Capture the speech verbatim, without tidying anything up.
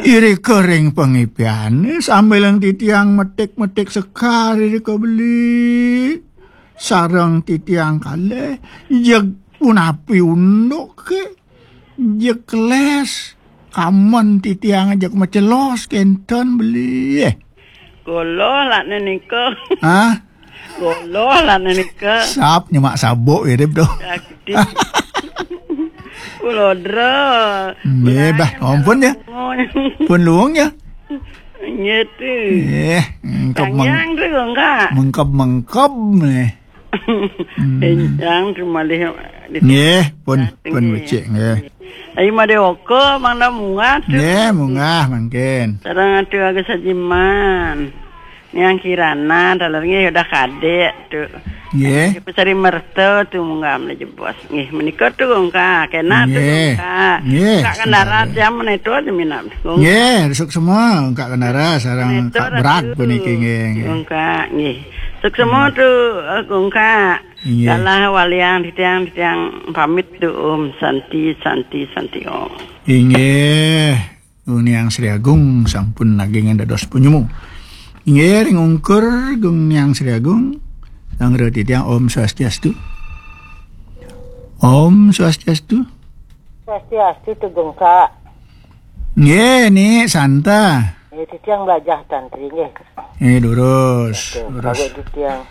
Irika ring pangipiané sambilang titiang metik-metik sekar irika beli. Sareng titiang kalih, jeg punapi unduké, jeg keles, kamen titiang jeg macelos kénten beli. Kula lakné nika. Hah? Kula lakné nika. Sap nyemak sabuk irip to. Sakti. Kula dra. Nggih, bah, ampun ya. Pun luung ya. Nggih, tu. Nggih, engkep meng-, Panjang tu, Kak. Mengkep-mengkep nih. Hmm. Enjang tu malih di Nggih, pun, pun nggih. Becik, nggih. Ayo made oko, mangda munggah tu. Nggih, munggah mangkin. Sareng atu Agus Sajiman. Niang Kirana, taler nggih udah kadek tu. Nggih. Ibu Sari Merta tu munggah mele jebos. Nggih, menika tu Gongka. Kena tu Nggih. Gongka. Nggih. Kak Kendara jam meneto aja minat. Gongka. Nggih, suksma Kak Kendara sareng Meneto Kak Brak atu. Puniki nggih, nggih. Gongka, nggih. Suksma Hmm. tu, eh, Gongka. Nggih. Kalah waliang titiang, titiang pamit tu Om Santi, Santi, Santi Om. Inggih. Gung Niang Sri Agung sampun naging dados penyemu. Inggih, ring ungkur Gung Niang Sri Agung, sanggra titiang Om Swastiastu. Om Swastiastu. Swastiastu, Tugungka. Nggih, Ni Santa. Nggih, titiang belajar tantri, nggih. Nggih, durus, Oke, durus. Kalau titiang